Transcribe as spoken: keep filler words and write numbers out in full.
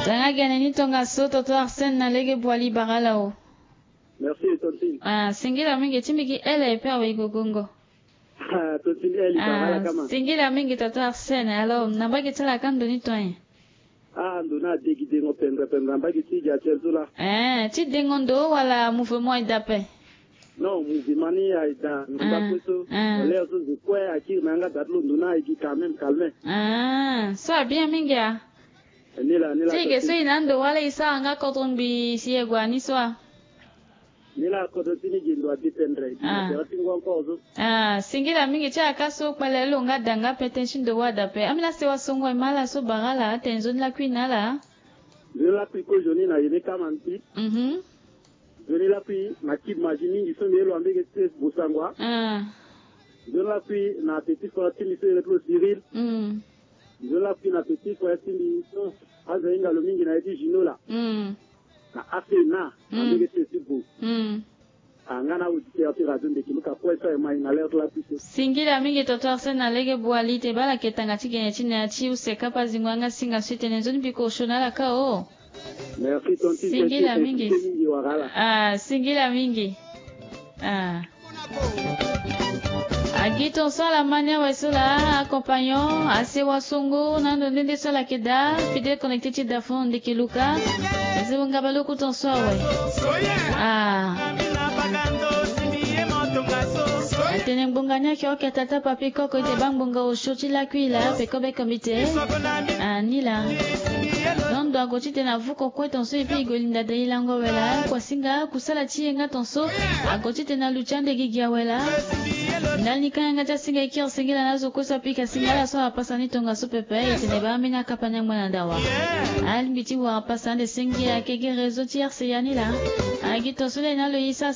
Tanga gene ni tongaso, tonton Arsène na lege Boili, bara ala o. Merci, tontine. Ah, singila mingi, ti mbi gi ele pe awe i gogongo. Ah, tontine, eli bara ala kama. Singila mingi, tonton Arsène. Alors, na mbage ti ala ka ndo ni ton e? Ah, ndo ni ade gi dengo pendre pendre na mbage ti gi atiel so laa. Eh, ti dengo ndo wala mouvement e daa pe? Non, mouvement ni aye daa na mbage so. Ah. Lere so zo kue akiri na yanga daa ti lo, ndo ni aye gi quand même calme. Ah, so abien mingi a? Ni laa, ni laa. Ti ge so e na ndo wala e sara nga kodro ngbii si e gue ni so a? Ni laa, kodro ti ni gi ndo adépendre. Ah. Ti ngu encore so. Ah, singila mingi ti ala ka so kpale lo nga da nga pe tënë ti ndo wâ da pe. Ambeni asewa songo e ma ala so bara ala, atene nzoni lakui na ala. Nzoni lakui kozo ni na yene kama mbi. Mhm. Nzoni lakui na kid mazi mingi so mbi ye lo ambege ti bosangwa. Ah. Nzoni lakui na petit frère ti mbi so iri ti lo Cyril. Mm. Nzoni lakui na petit frère ti mbi so azo ahinga lo mingi na ye ti Gino laa. Mm. Na Afena, mm, ambege ti bo. Mm. Ah, nga na auditeur ti radio Ndeki Luka kue so aye mai na lere ti lakui so. Singila mingi, tonton Arsène na lege Boili, te baa ala yeke tanga ti gene ti na ya ti use kapa zingo yanga singa so e tene nzoni mbi kosho na ala ka o. Merci, tontine. Singila mingi. Ah, singila mingi. Ah. Agi ton so ala ma ni awe so laa, accompagnant, asewa songo, na ndo nde nde so ala yeke daa, fidèle connecté ti da fond Ndeki Luka. Nzembo ngaba lo ku ton so awe. Ah. Atene ngbonga ni ayeke oke tata papi koko, e te baa ngbonga osio ti lakui laa, peko be kombite. Ah, ni laa. Londo ague titene avuko kue ton so, e pe e gue linda da e lango awe laa. Kuasinga kusala ti e nga ton so ague titene aluti ande gigi awe laa. Ndali ni kanga nga ti asinga e kiri singila na azo kue so apika singila so apasa ni tongaso pepe, e tene baa ambeni akapa ni angba na dawa. Alingbi ti wara pasa ande singila ayeke gi réseau ti R C A ni laa. Agi ton so le na lo e sara